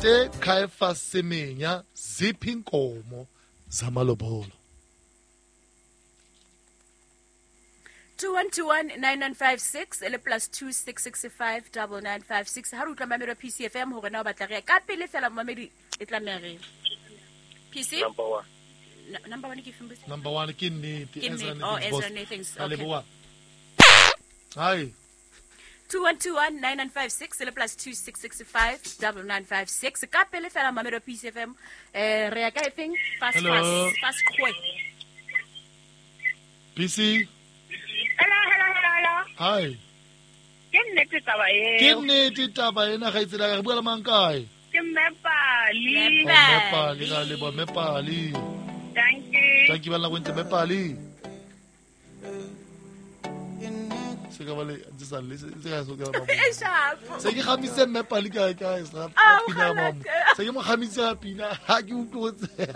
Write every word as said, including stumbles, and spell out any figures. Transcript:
Caiphus Semenya ziphi inkomo zamalobolo. two one two one nine nine five six le plus two six six five double nine five six. Ha re utlwa mamedi wa P C F M hore na o batla re ka pele fela mamedi e tlameha re P C number one. N- number one ke feng? Number one ke nnete. Ezra oh, Ezra Nathans. Okay. Hi. two one two one nine nine five six le plus two six six five double nine five six. Ka pele fela mamedi wa P C F M eh re ya ka efeng? Fast fast fast quick. P C. Hello, hello, hello, hello. Hi. Ke nnete taba eo. Ke nnete taba ena ga itsela re bua le mang kae? Ke Mmepali. Mmepali ga le bo Mmepali. Thank you. Thank you bana go ntse Mmepali. Se ka bale ntse sa le se ka so ka ba. Se ke gamise Mmepali ka ka sa pina mama. Se ke mo gamise pina ha ke utlwotse.